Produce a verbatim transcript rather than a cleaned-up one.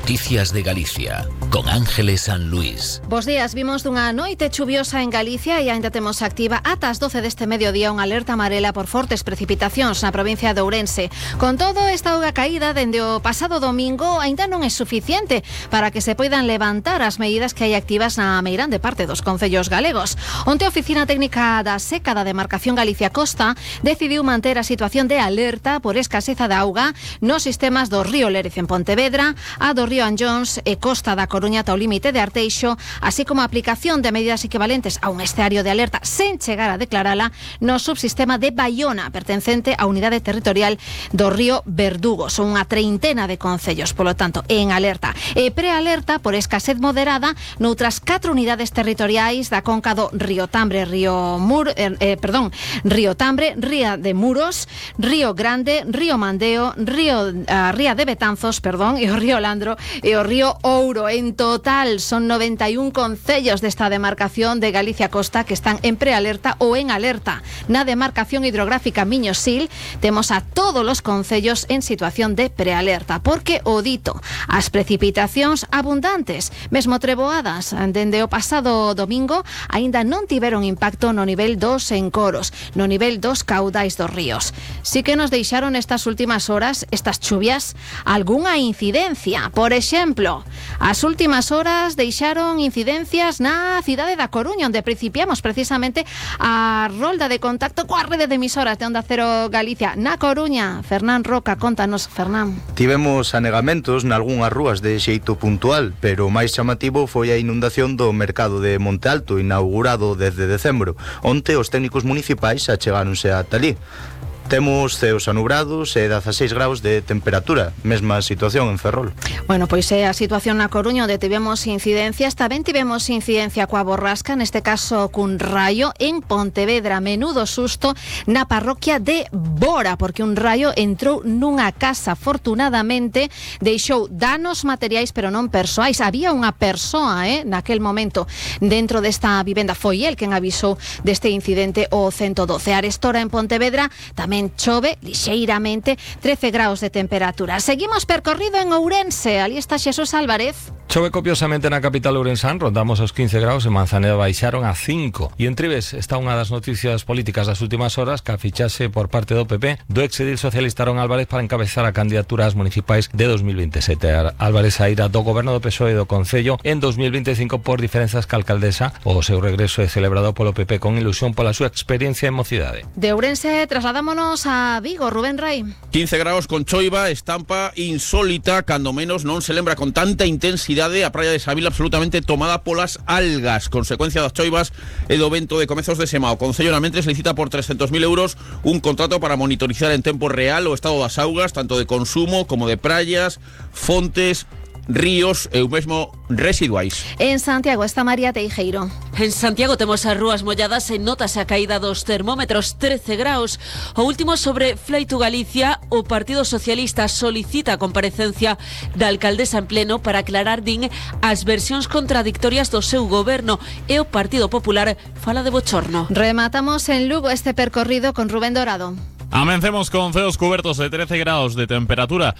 Noticias de Galicia, con Ángeles San Luis. Bos días, vimos dunha noite chuviosa en Galicia e aínda temos activa ata as doce deste mediodía unha alerta amarela por fortes precipitacións na provincia de Ourense. Con todo, esta auga caída dende o pasado domingo aínda non é suficiente para que se poidan levantar as medidas que hai activas na meirande parte dos concellos galegos. Onte a Oficina Técnica da Seca da Demarcación Galicia Costa decidiu manter a situación de alerta por escaseza de auga nos sistemas do río Lérez en Pontevedra, a do río Anllóns e Costa da Coruña ata o límite de Arteixo, así como a aplicación de medidas equivalentes a un esteario de alerta sen chegar a declarala no subsistema de Baiona, pertencente á unidade territorial do río Verdugo. Son unha treintena de concellos, polo tanto, en alerta. E prealerta por escasez moderada noutras catro unidades territoriais da conca do Río Tambre, Río Mur, eh, perdón, Río Tambre, Ría de Muros, Río Grande, Río Mandeo, Río uh, Ría de Betanzos, perdón, e o Río Landro e o Río Ouro. En total son noventa e un concellos desta demarcación de Galicia Costa que están en prealerta ou en alerta. Na demarcación hidrográfica Miño-Sil temos a todos os concellos en situación de prealerta, porque o dito, as precipitacións abundantes, mesmo treboadas dende o pasado domingo, aínda non tiveron impacto no nivel dos encoros, no nivel dos caudais dos ríos. Si que nos deixaron estas últimas horas, estas chuvias, algunha incidencia. Por exemplo, as últimas horas deixaron incidencias na cidade da Coruña, onde principiamos precisamente a rolda de contacto coa rede de emisoras de Onda Cero Galicia. Na Coruña, Fernán Roca, contanos, Fernán. Tivemos anegamentos nalgunhas rúas de xeito puntual, pero o máis chamativo foi a inundación do mercado de Monte Alto, inaugurado desde decembro. Onte os técnicos municipais achegáronse ata ali. Temos ceos anubrados e dezaseis graus de temperatura, mesma situación en Ferrol. Bueno, pois é a situación na Coruña, onde tivemos incidencias. Tamén tivemos incidencia coa borrasca, neste caso cun raio en Pontevedra. Menudo susto na parroquia de Bora, porque un raio entrou nunha casa. Afortunadamente deixou danos materiais, pero non persoais. Había unha persoa, eh, naquel momento dentro desta vivenda. Foi el quen avisou deste incidente o ciento doce. Arestora en Pontevedra tamén chove lixeiramente, trece graus de temperatura. Seguimos percorrido en Ourense. Ali está Xesús Álvarez. Chove copiosamente na capital ourensán, rondamos os quince graus, en Manzaneda baixaron a cinco. E en Trives está unha das noticias políticas das últimas horas, que a fichaxe por parte do P P do exedil socialista Aaron Álvarez para encabezar a candidatura ás municipais de dos mil veintesete. Álvarez saíra do goberno do P S O E do Concello en dos mil veinticinco por diferenzas ca alcaldesa. O seu regreso é celebrado polo P P con ilusión pola súa experiencia en mocidade. De Ourense trasladámonos a Vigo, Rubén Rai. quince graus con choiva, estampa insólita, cando menos non se lembra con tanta intensidade a praia de Savila absolutamente tomada polas algas, consecuencia das choivas e do vento de comezos de sema. O Concello na mentres licita por trescentos mil euros un contrato para monitorizar en tempo real o estado das augas, tanto de consumo como de praias, fontes, ríos e o mesmo residuais. En Santiago está María Teijeiro. En Santiago temos as rúas molladas e notase a caída dos termómetros, trece graus. O último sobre Fleito Galicia, o Partido Socialista solicita a comparecencia da alcaldesa en pleno para aclarar, din, as versións contradictorias do seu goberno, e o Partido Popular fala de bochorno. Rematamos en Lugo este percorrido con Rubén Dorado. Amencemos con ceos cubertos de trece graus de temperatura.